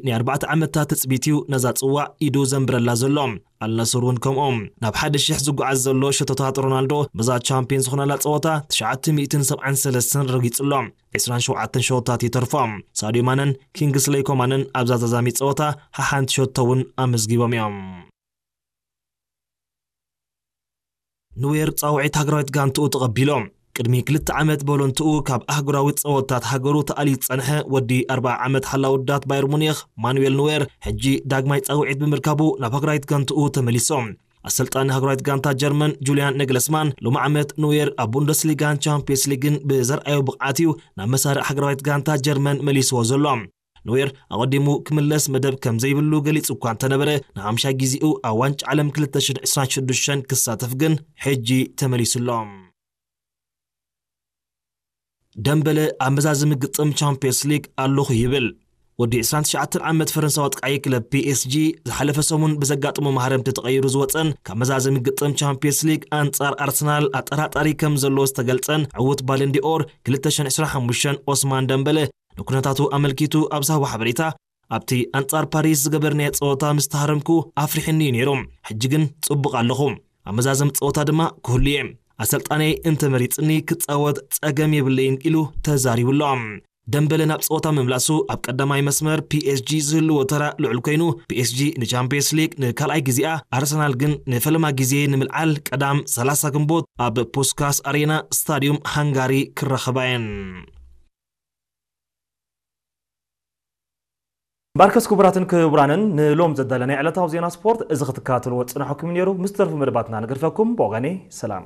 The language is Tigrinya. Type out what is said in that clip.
ናይ ኣርባዕተ ዓመታት ትጽቢት እዩ ነዛ ጽዋዕ ኢዱ ዘንብረላ ዘሎ። ኣልናስር እውን ከምኦም። ናብ ሓደ ሽሕ ዝጓዓዝ ዘሎ ሸቶታት ሮናልዶ በዛ ቻምፒዮን ዝኾናላ ጸወታ ትሽዓተ ሚእትን ሰብዓን ሰለስተን ረጊጹ ኣሎ። ዕስራን ሸውዓተን ሸቶታት ይተርፎ። ሳድዮ ማነን ኪንግስሌይ ኮማንን ኣብዛ ተዛሚ ጸወታ ሓሓንቲ ሸቶ እውን ኣመዝጊቦም እዮም። ንዌር ጻውዒት ሃገራዊት ጋንትኡ ተቐቢሎ። ቅድሚ ክልተ ዓመት በሎንትኡ ካብ ኣህጉራዊ ጸወታት ሃገሩ ተኣልዩ ዝጸንሐ ወዲ ኣርብዓ ዓመት ሓላው ውዳት ባየር ሙኒኽ ማኑኤል ንዌር ሕጂ ዳግማይ ጻውዒት ብምርካቡ ናብ ሃገራዊት ጋንትኡ ተመሊሶ። ኣሰልጣኒ ሃገራዊት ጋንታ ጀርመን ጁልያን ነግለስማን ሎሚ ዓመት ንዌር ኣብ ቡንደስሊጋን ቻምፒየንስ ሊግን ብዘርኣዮ ብቕዓት እዩ ናብ መሳርዕ ሃገራዊት ጋንታ ጀርመን መሊስዎ ዘሎ። ኖየር ኣቐዲሙ ክምለስ መደብ ከም ዘይብሉ ገሊጹ እኳ እንተነበረ፣ ንሓምሻይ ግዜኡ ኣብ ዋንጫ ዓለም ክልተ ሽሕን ዕስራን ሽዱሽተን ክሳተፍ ግን ሕጂ ተመሊሱ ኣሎ። ደምበለ ኣብ መዛዘሚ ግጥም ቻምፒየንስ ሊግ ኣለኹ ይብል። ወዲ ዕስራን ትሽዓተን ዓመት ፈረንሳዊ ኣጥቃዒ ክለብ ፒ ኤስ ጂ ዝሓለፈ ሰሙን ብዘጋጠሞ ማህረምቲ ተቐይሩ ዝወጸን ካብ መዛዘሚ ግጥም ቻምፒየንስ ሊግ ኣንጻር ኣርሰናል ኣጠራጣሪ ከም ዘለዎ ዝተገልጸን ዕዉት ባለንዲኦር ክልተ ሽሕን ዕስራን ሓሙሽተን ኦስማን ደምበለ ንኩነታቱ ኣመልኪቱ ኣብ ዝሃቦ ሓበሬታ፣ ኣብቲ ኣንጻር ፓሪስ ዝገበርናዮ ጸወታ ምስ ተሃረምኩ ኣፍሪሕኒ እዩ ነይሩ። ሕጂ ግን ጽቡቕ ኣለኹ። ኣብ መዛዘሚ ጸወታ ድማ ክህሉ እየ። ኣሰልጣነይ እንተመሪጽኒ ክጻወት ጸገም የብለይን ኢሉ ተዛሪቡ ኣሎ። ደምበለ ናብ ጸወታ ምምላሱ ኣብ ቀዳማይ መስመር ፒ ኤስ ጂ ዝህልዎ ተራ ልዑል ኮይኑ፣ ፒ ኤስ ጂ ንቻምፒየንስ ሊግ ንካልኣይ ግዜኣ፣ ኣርሰናል ግን ንፈለማ ግዜ ንምልዓል ቀዳም ሰላሳ ግንቦት ኣብ ፑስካስ ኣሬና ስታድዩም ሃንጋሪ ክራኸባ እየን። ባርከስ ክቡራትን ክቡራንን ንሎም ዘዳለናይ ዕለታዊ ዜና ስፖርት እዚ ክትከታተልዎ ዝጸናሕኩም ነይሩ። ምስ ተርፉ መደባትና ንገድፈኩም። ብወገነይ ሰላም።